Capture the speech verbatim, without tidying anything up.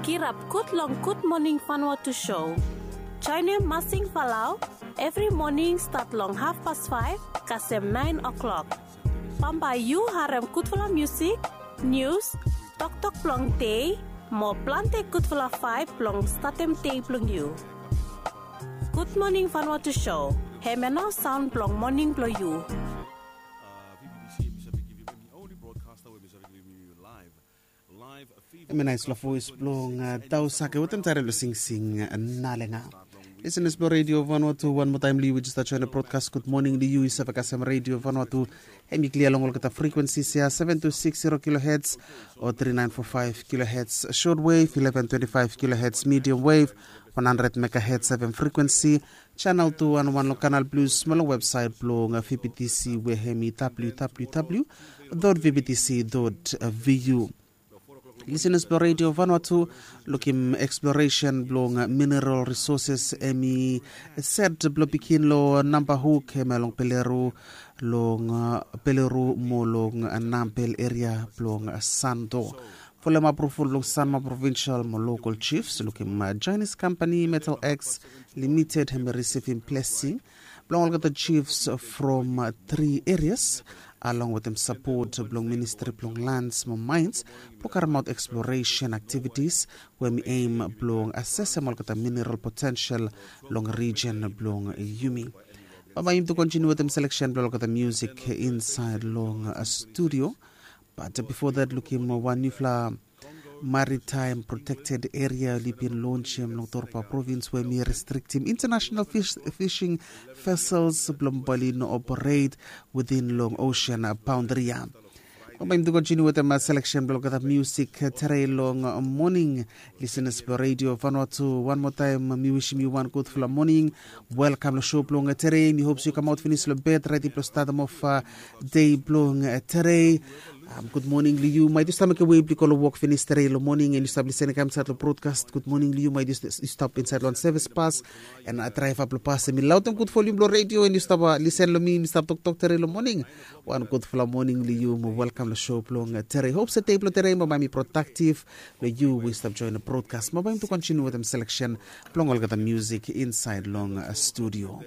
Kirap gud long Gud Moning Vanuatu show. Joenem Masing Falau evri moning stat long hafpas faef kasem naen o'klok. Bambae yu harem gudfala musik, nius, toktok blong dei, mo plante gudfala vaeb blong statem dei blong yu. Gud Moning Vanuatu show, hemia nao saon blong moning blong yu. Hemia naesfala voes blong Dausake wetem taere blong singsing Nalenga. Lisenas blong Redio Vanuatu, wan moa taem long yu we jes stap joenem brodkas, gud moning long yu. I save kasem Redio Vanuatu, hemi klia long olgeta frikwensis ya, seven two six zero kilohertz o three nine four five kilohertz shortwave, eleven twenty-five kilohertz medium wave, one hundred megahertz F M frikwensi, channel two one one long Canal Plus, mo long websaet blong V B T C we hemi W W W dot V B T C dot V U. Lisenas blong Redio Vanuatu, lukim eksploresen blong mineral risoses hemi set blong bigin long Nambahuk, hemia long Peleru, long Peleru mo long Nambel eria blong Santo. Folem apruvol blong Sanma provinsal mo lokal jifs, lukim Jaenis kampani Metal X Limited hemi risivim blesing blong olgeta jifs from tri erias, along wetem sapot blong Ministri blong Lans mo Maens, blong karemaot eksploresen aktivitis we hemi em blong asesem olgeta mineral potensel long rijen blong yumi. Bambae yumi tu kontiniu wetem seleksen blong olgeta musik insaed long studio. Bat bifo dat, lukim wan niufala maritaem protekted eria oli bin lonsem long Torba provins we hemi restriktim intanasenal fising vesels blong bae oli no operet witin long osen baondri ya. Bambae yumi tu kontiniu wetem seleksen blong olgeta musik tere long moning. Lisenas blong Redio Vanuatu, wan moa taem mi wisim yu wan gudfala moning. Welkam long show blong tere. Mi hop se yu kamaot finis long bed redi blong statem of dei blong tere. Gud moning long yu. Maet yu stap mekem wei blong yu go long wok finis tere long moning, and yu stap lisenem kam insaed long brodkas, gud moning long yu. Maet yu stap insaed long sevis bas, and draeva blong bas hemi laodem gud volium blong redio, and yu stap lisen long mi, mi stap toktok tere long moning. Wan gudfala moning long yu mo welkam long show blong tere. Hop se dei blong tere bambae hemi prodaktiv long yu we yu stap joenem brodkas. Bambae yumi tu kontiniu wetem seleksen blong olgeta musik insaed long studio.